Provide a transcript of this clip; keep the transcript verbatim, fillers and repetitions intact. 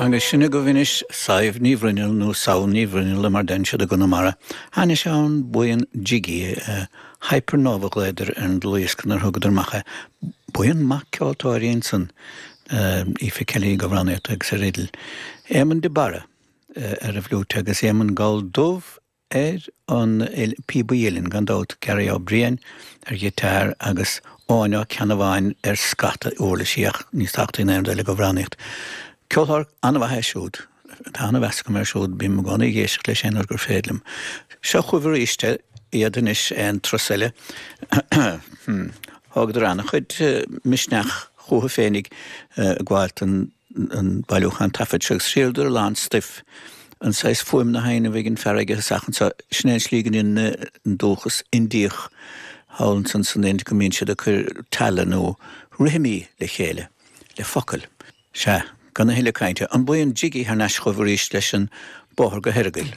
Agus sin agaibh anois Sadhbh Ní Bhruinneall nó Samh Ní Bhruinneall mar deir siad i gConamara. Tháinig sé an buíon Jiggy Hypernova glaodar ar an dlúthdhiosca nuair thugadar amach é. Buíon maith ceoltóirí ansan Aoife Kelly ag amhránaíocht agus ar fhidil. Éamonn de Barra ar an bhfliúit agus Éamonn Gall Dubh ar an píobaí uilleann gan dabht Gary Ó Briain ar ghiotár agus Áine Ó Ceannabháin ar scata uirlisí ach níos tábhachtaí ná aon rud eile ag amhránaíocht. Ceoltóir an-mhaith é siúd. Tá an-mheas agam air siúd bím i gcónaí ag éisteacht leis aon uair gur féidir liom. Seo chugaibh arís iad anois aon turas eile. Thógadar an-chuid misneach chucu féinig ag gabháil an an bailiúchán taifead seo agus thriaileadar a lán stuif an saghas fuaim na hainmh ag an fear aige anseo sin é an slí go ndéanann an dúchas Indiach thall ansan san Ind go mbíonn siad ag cur tala nó rithimí le chéile le focail. Sea, gan a thuilleadh cainte, an buíon Jiggy thar n-ais chugaibh arís leis an bóthar go hEaragail.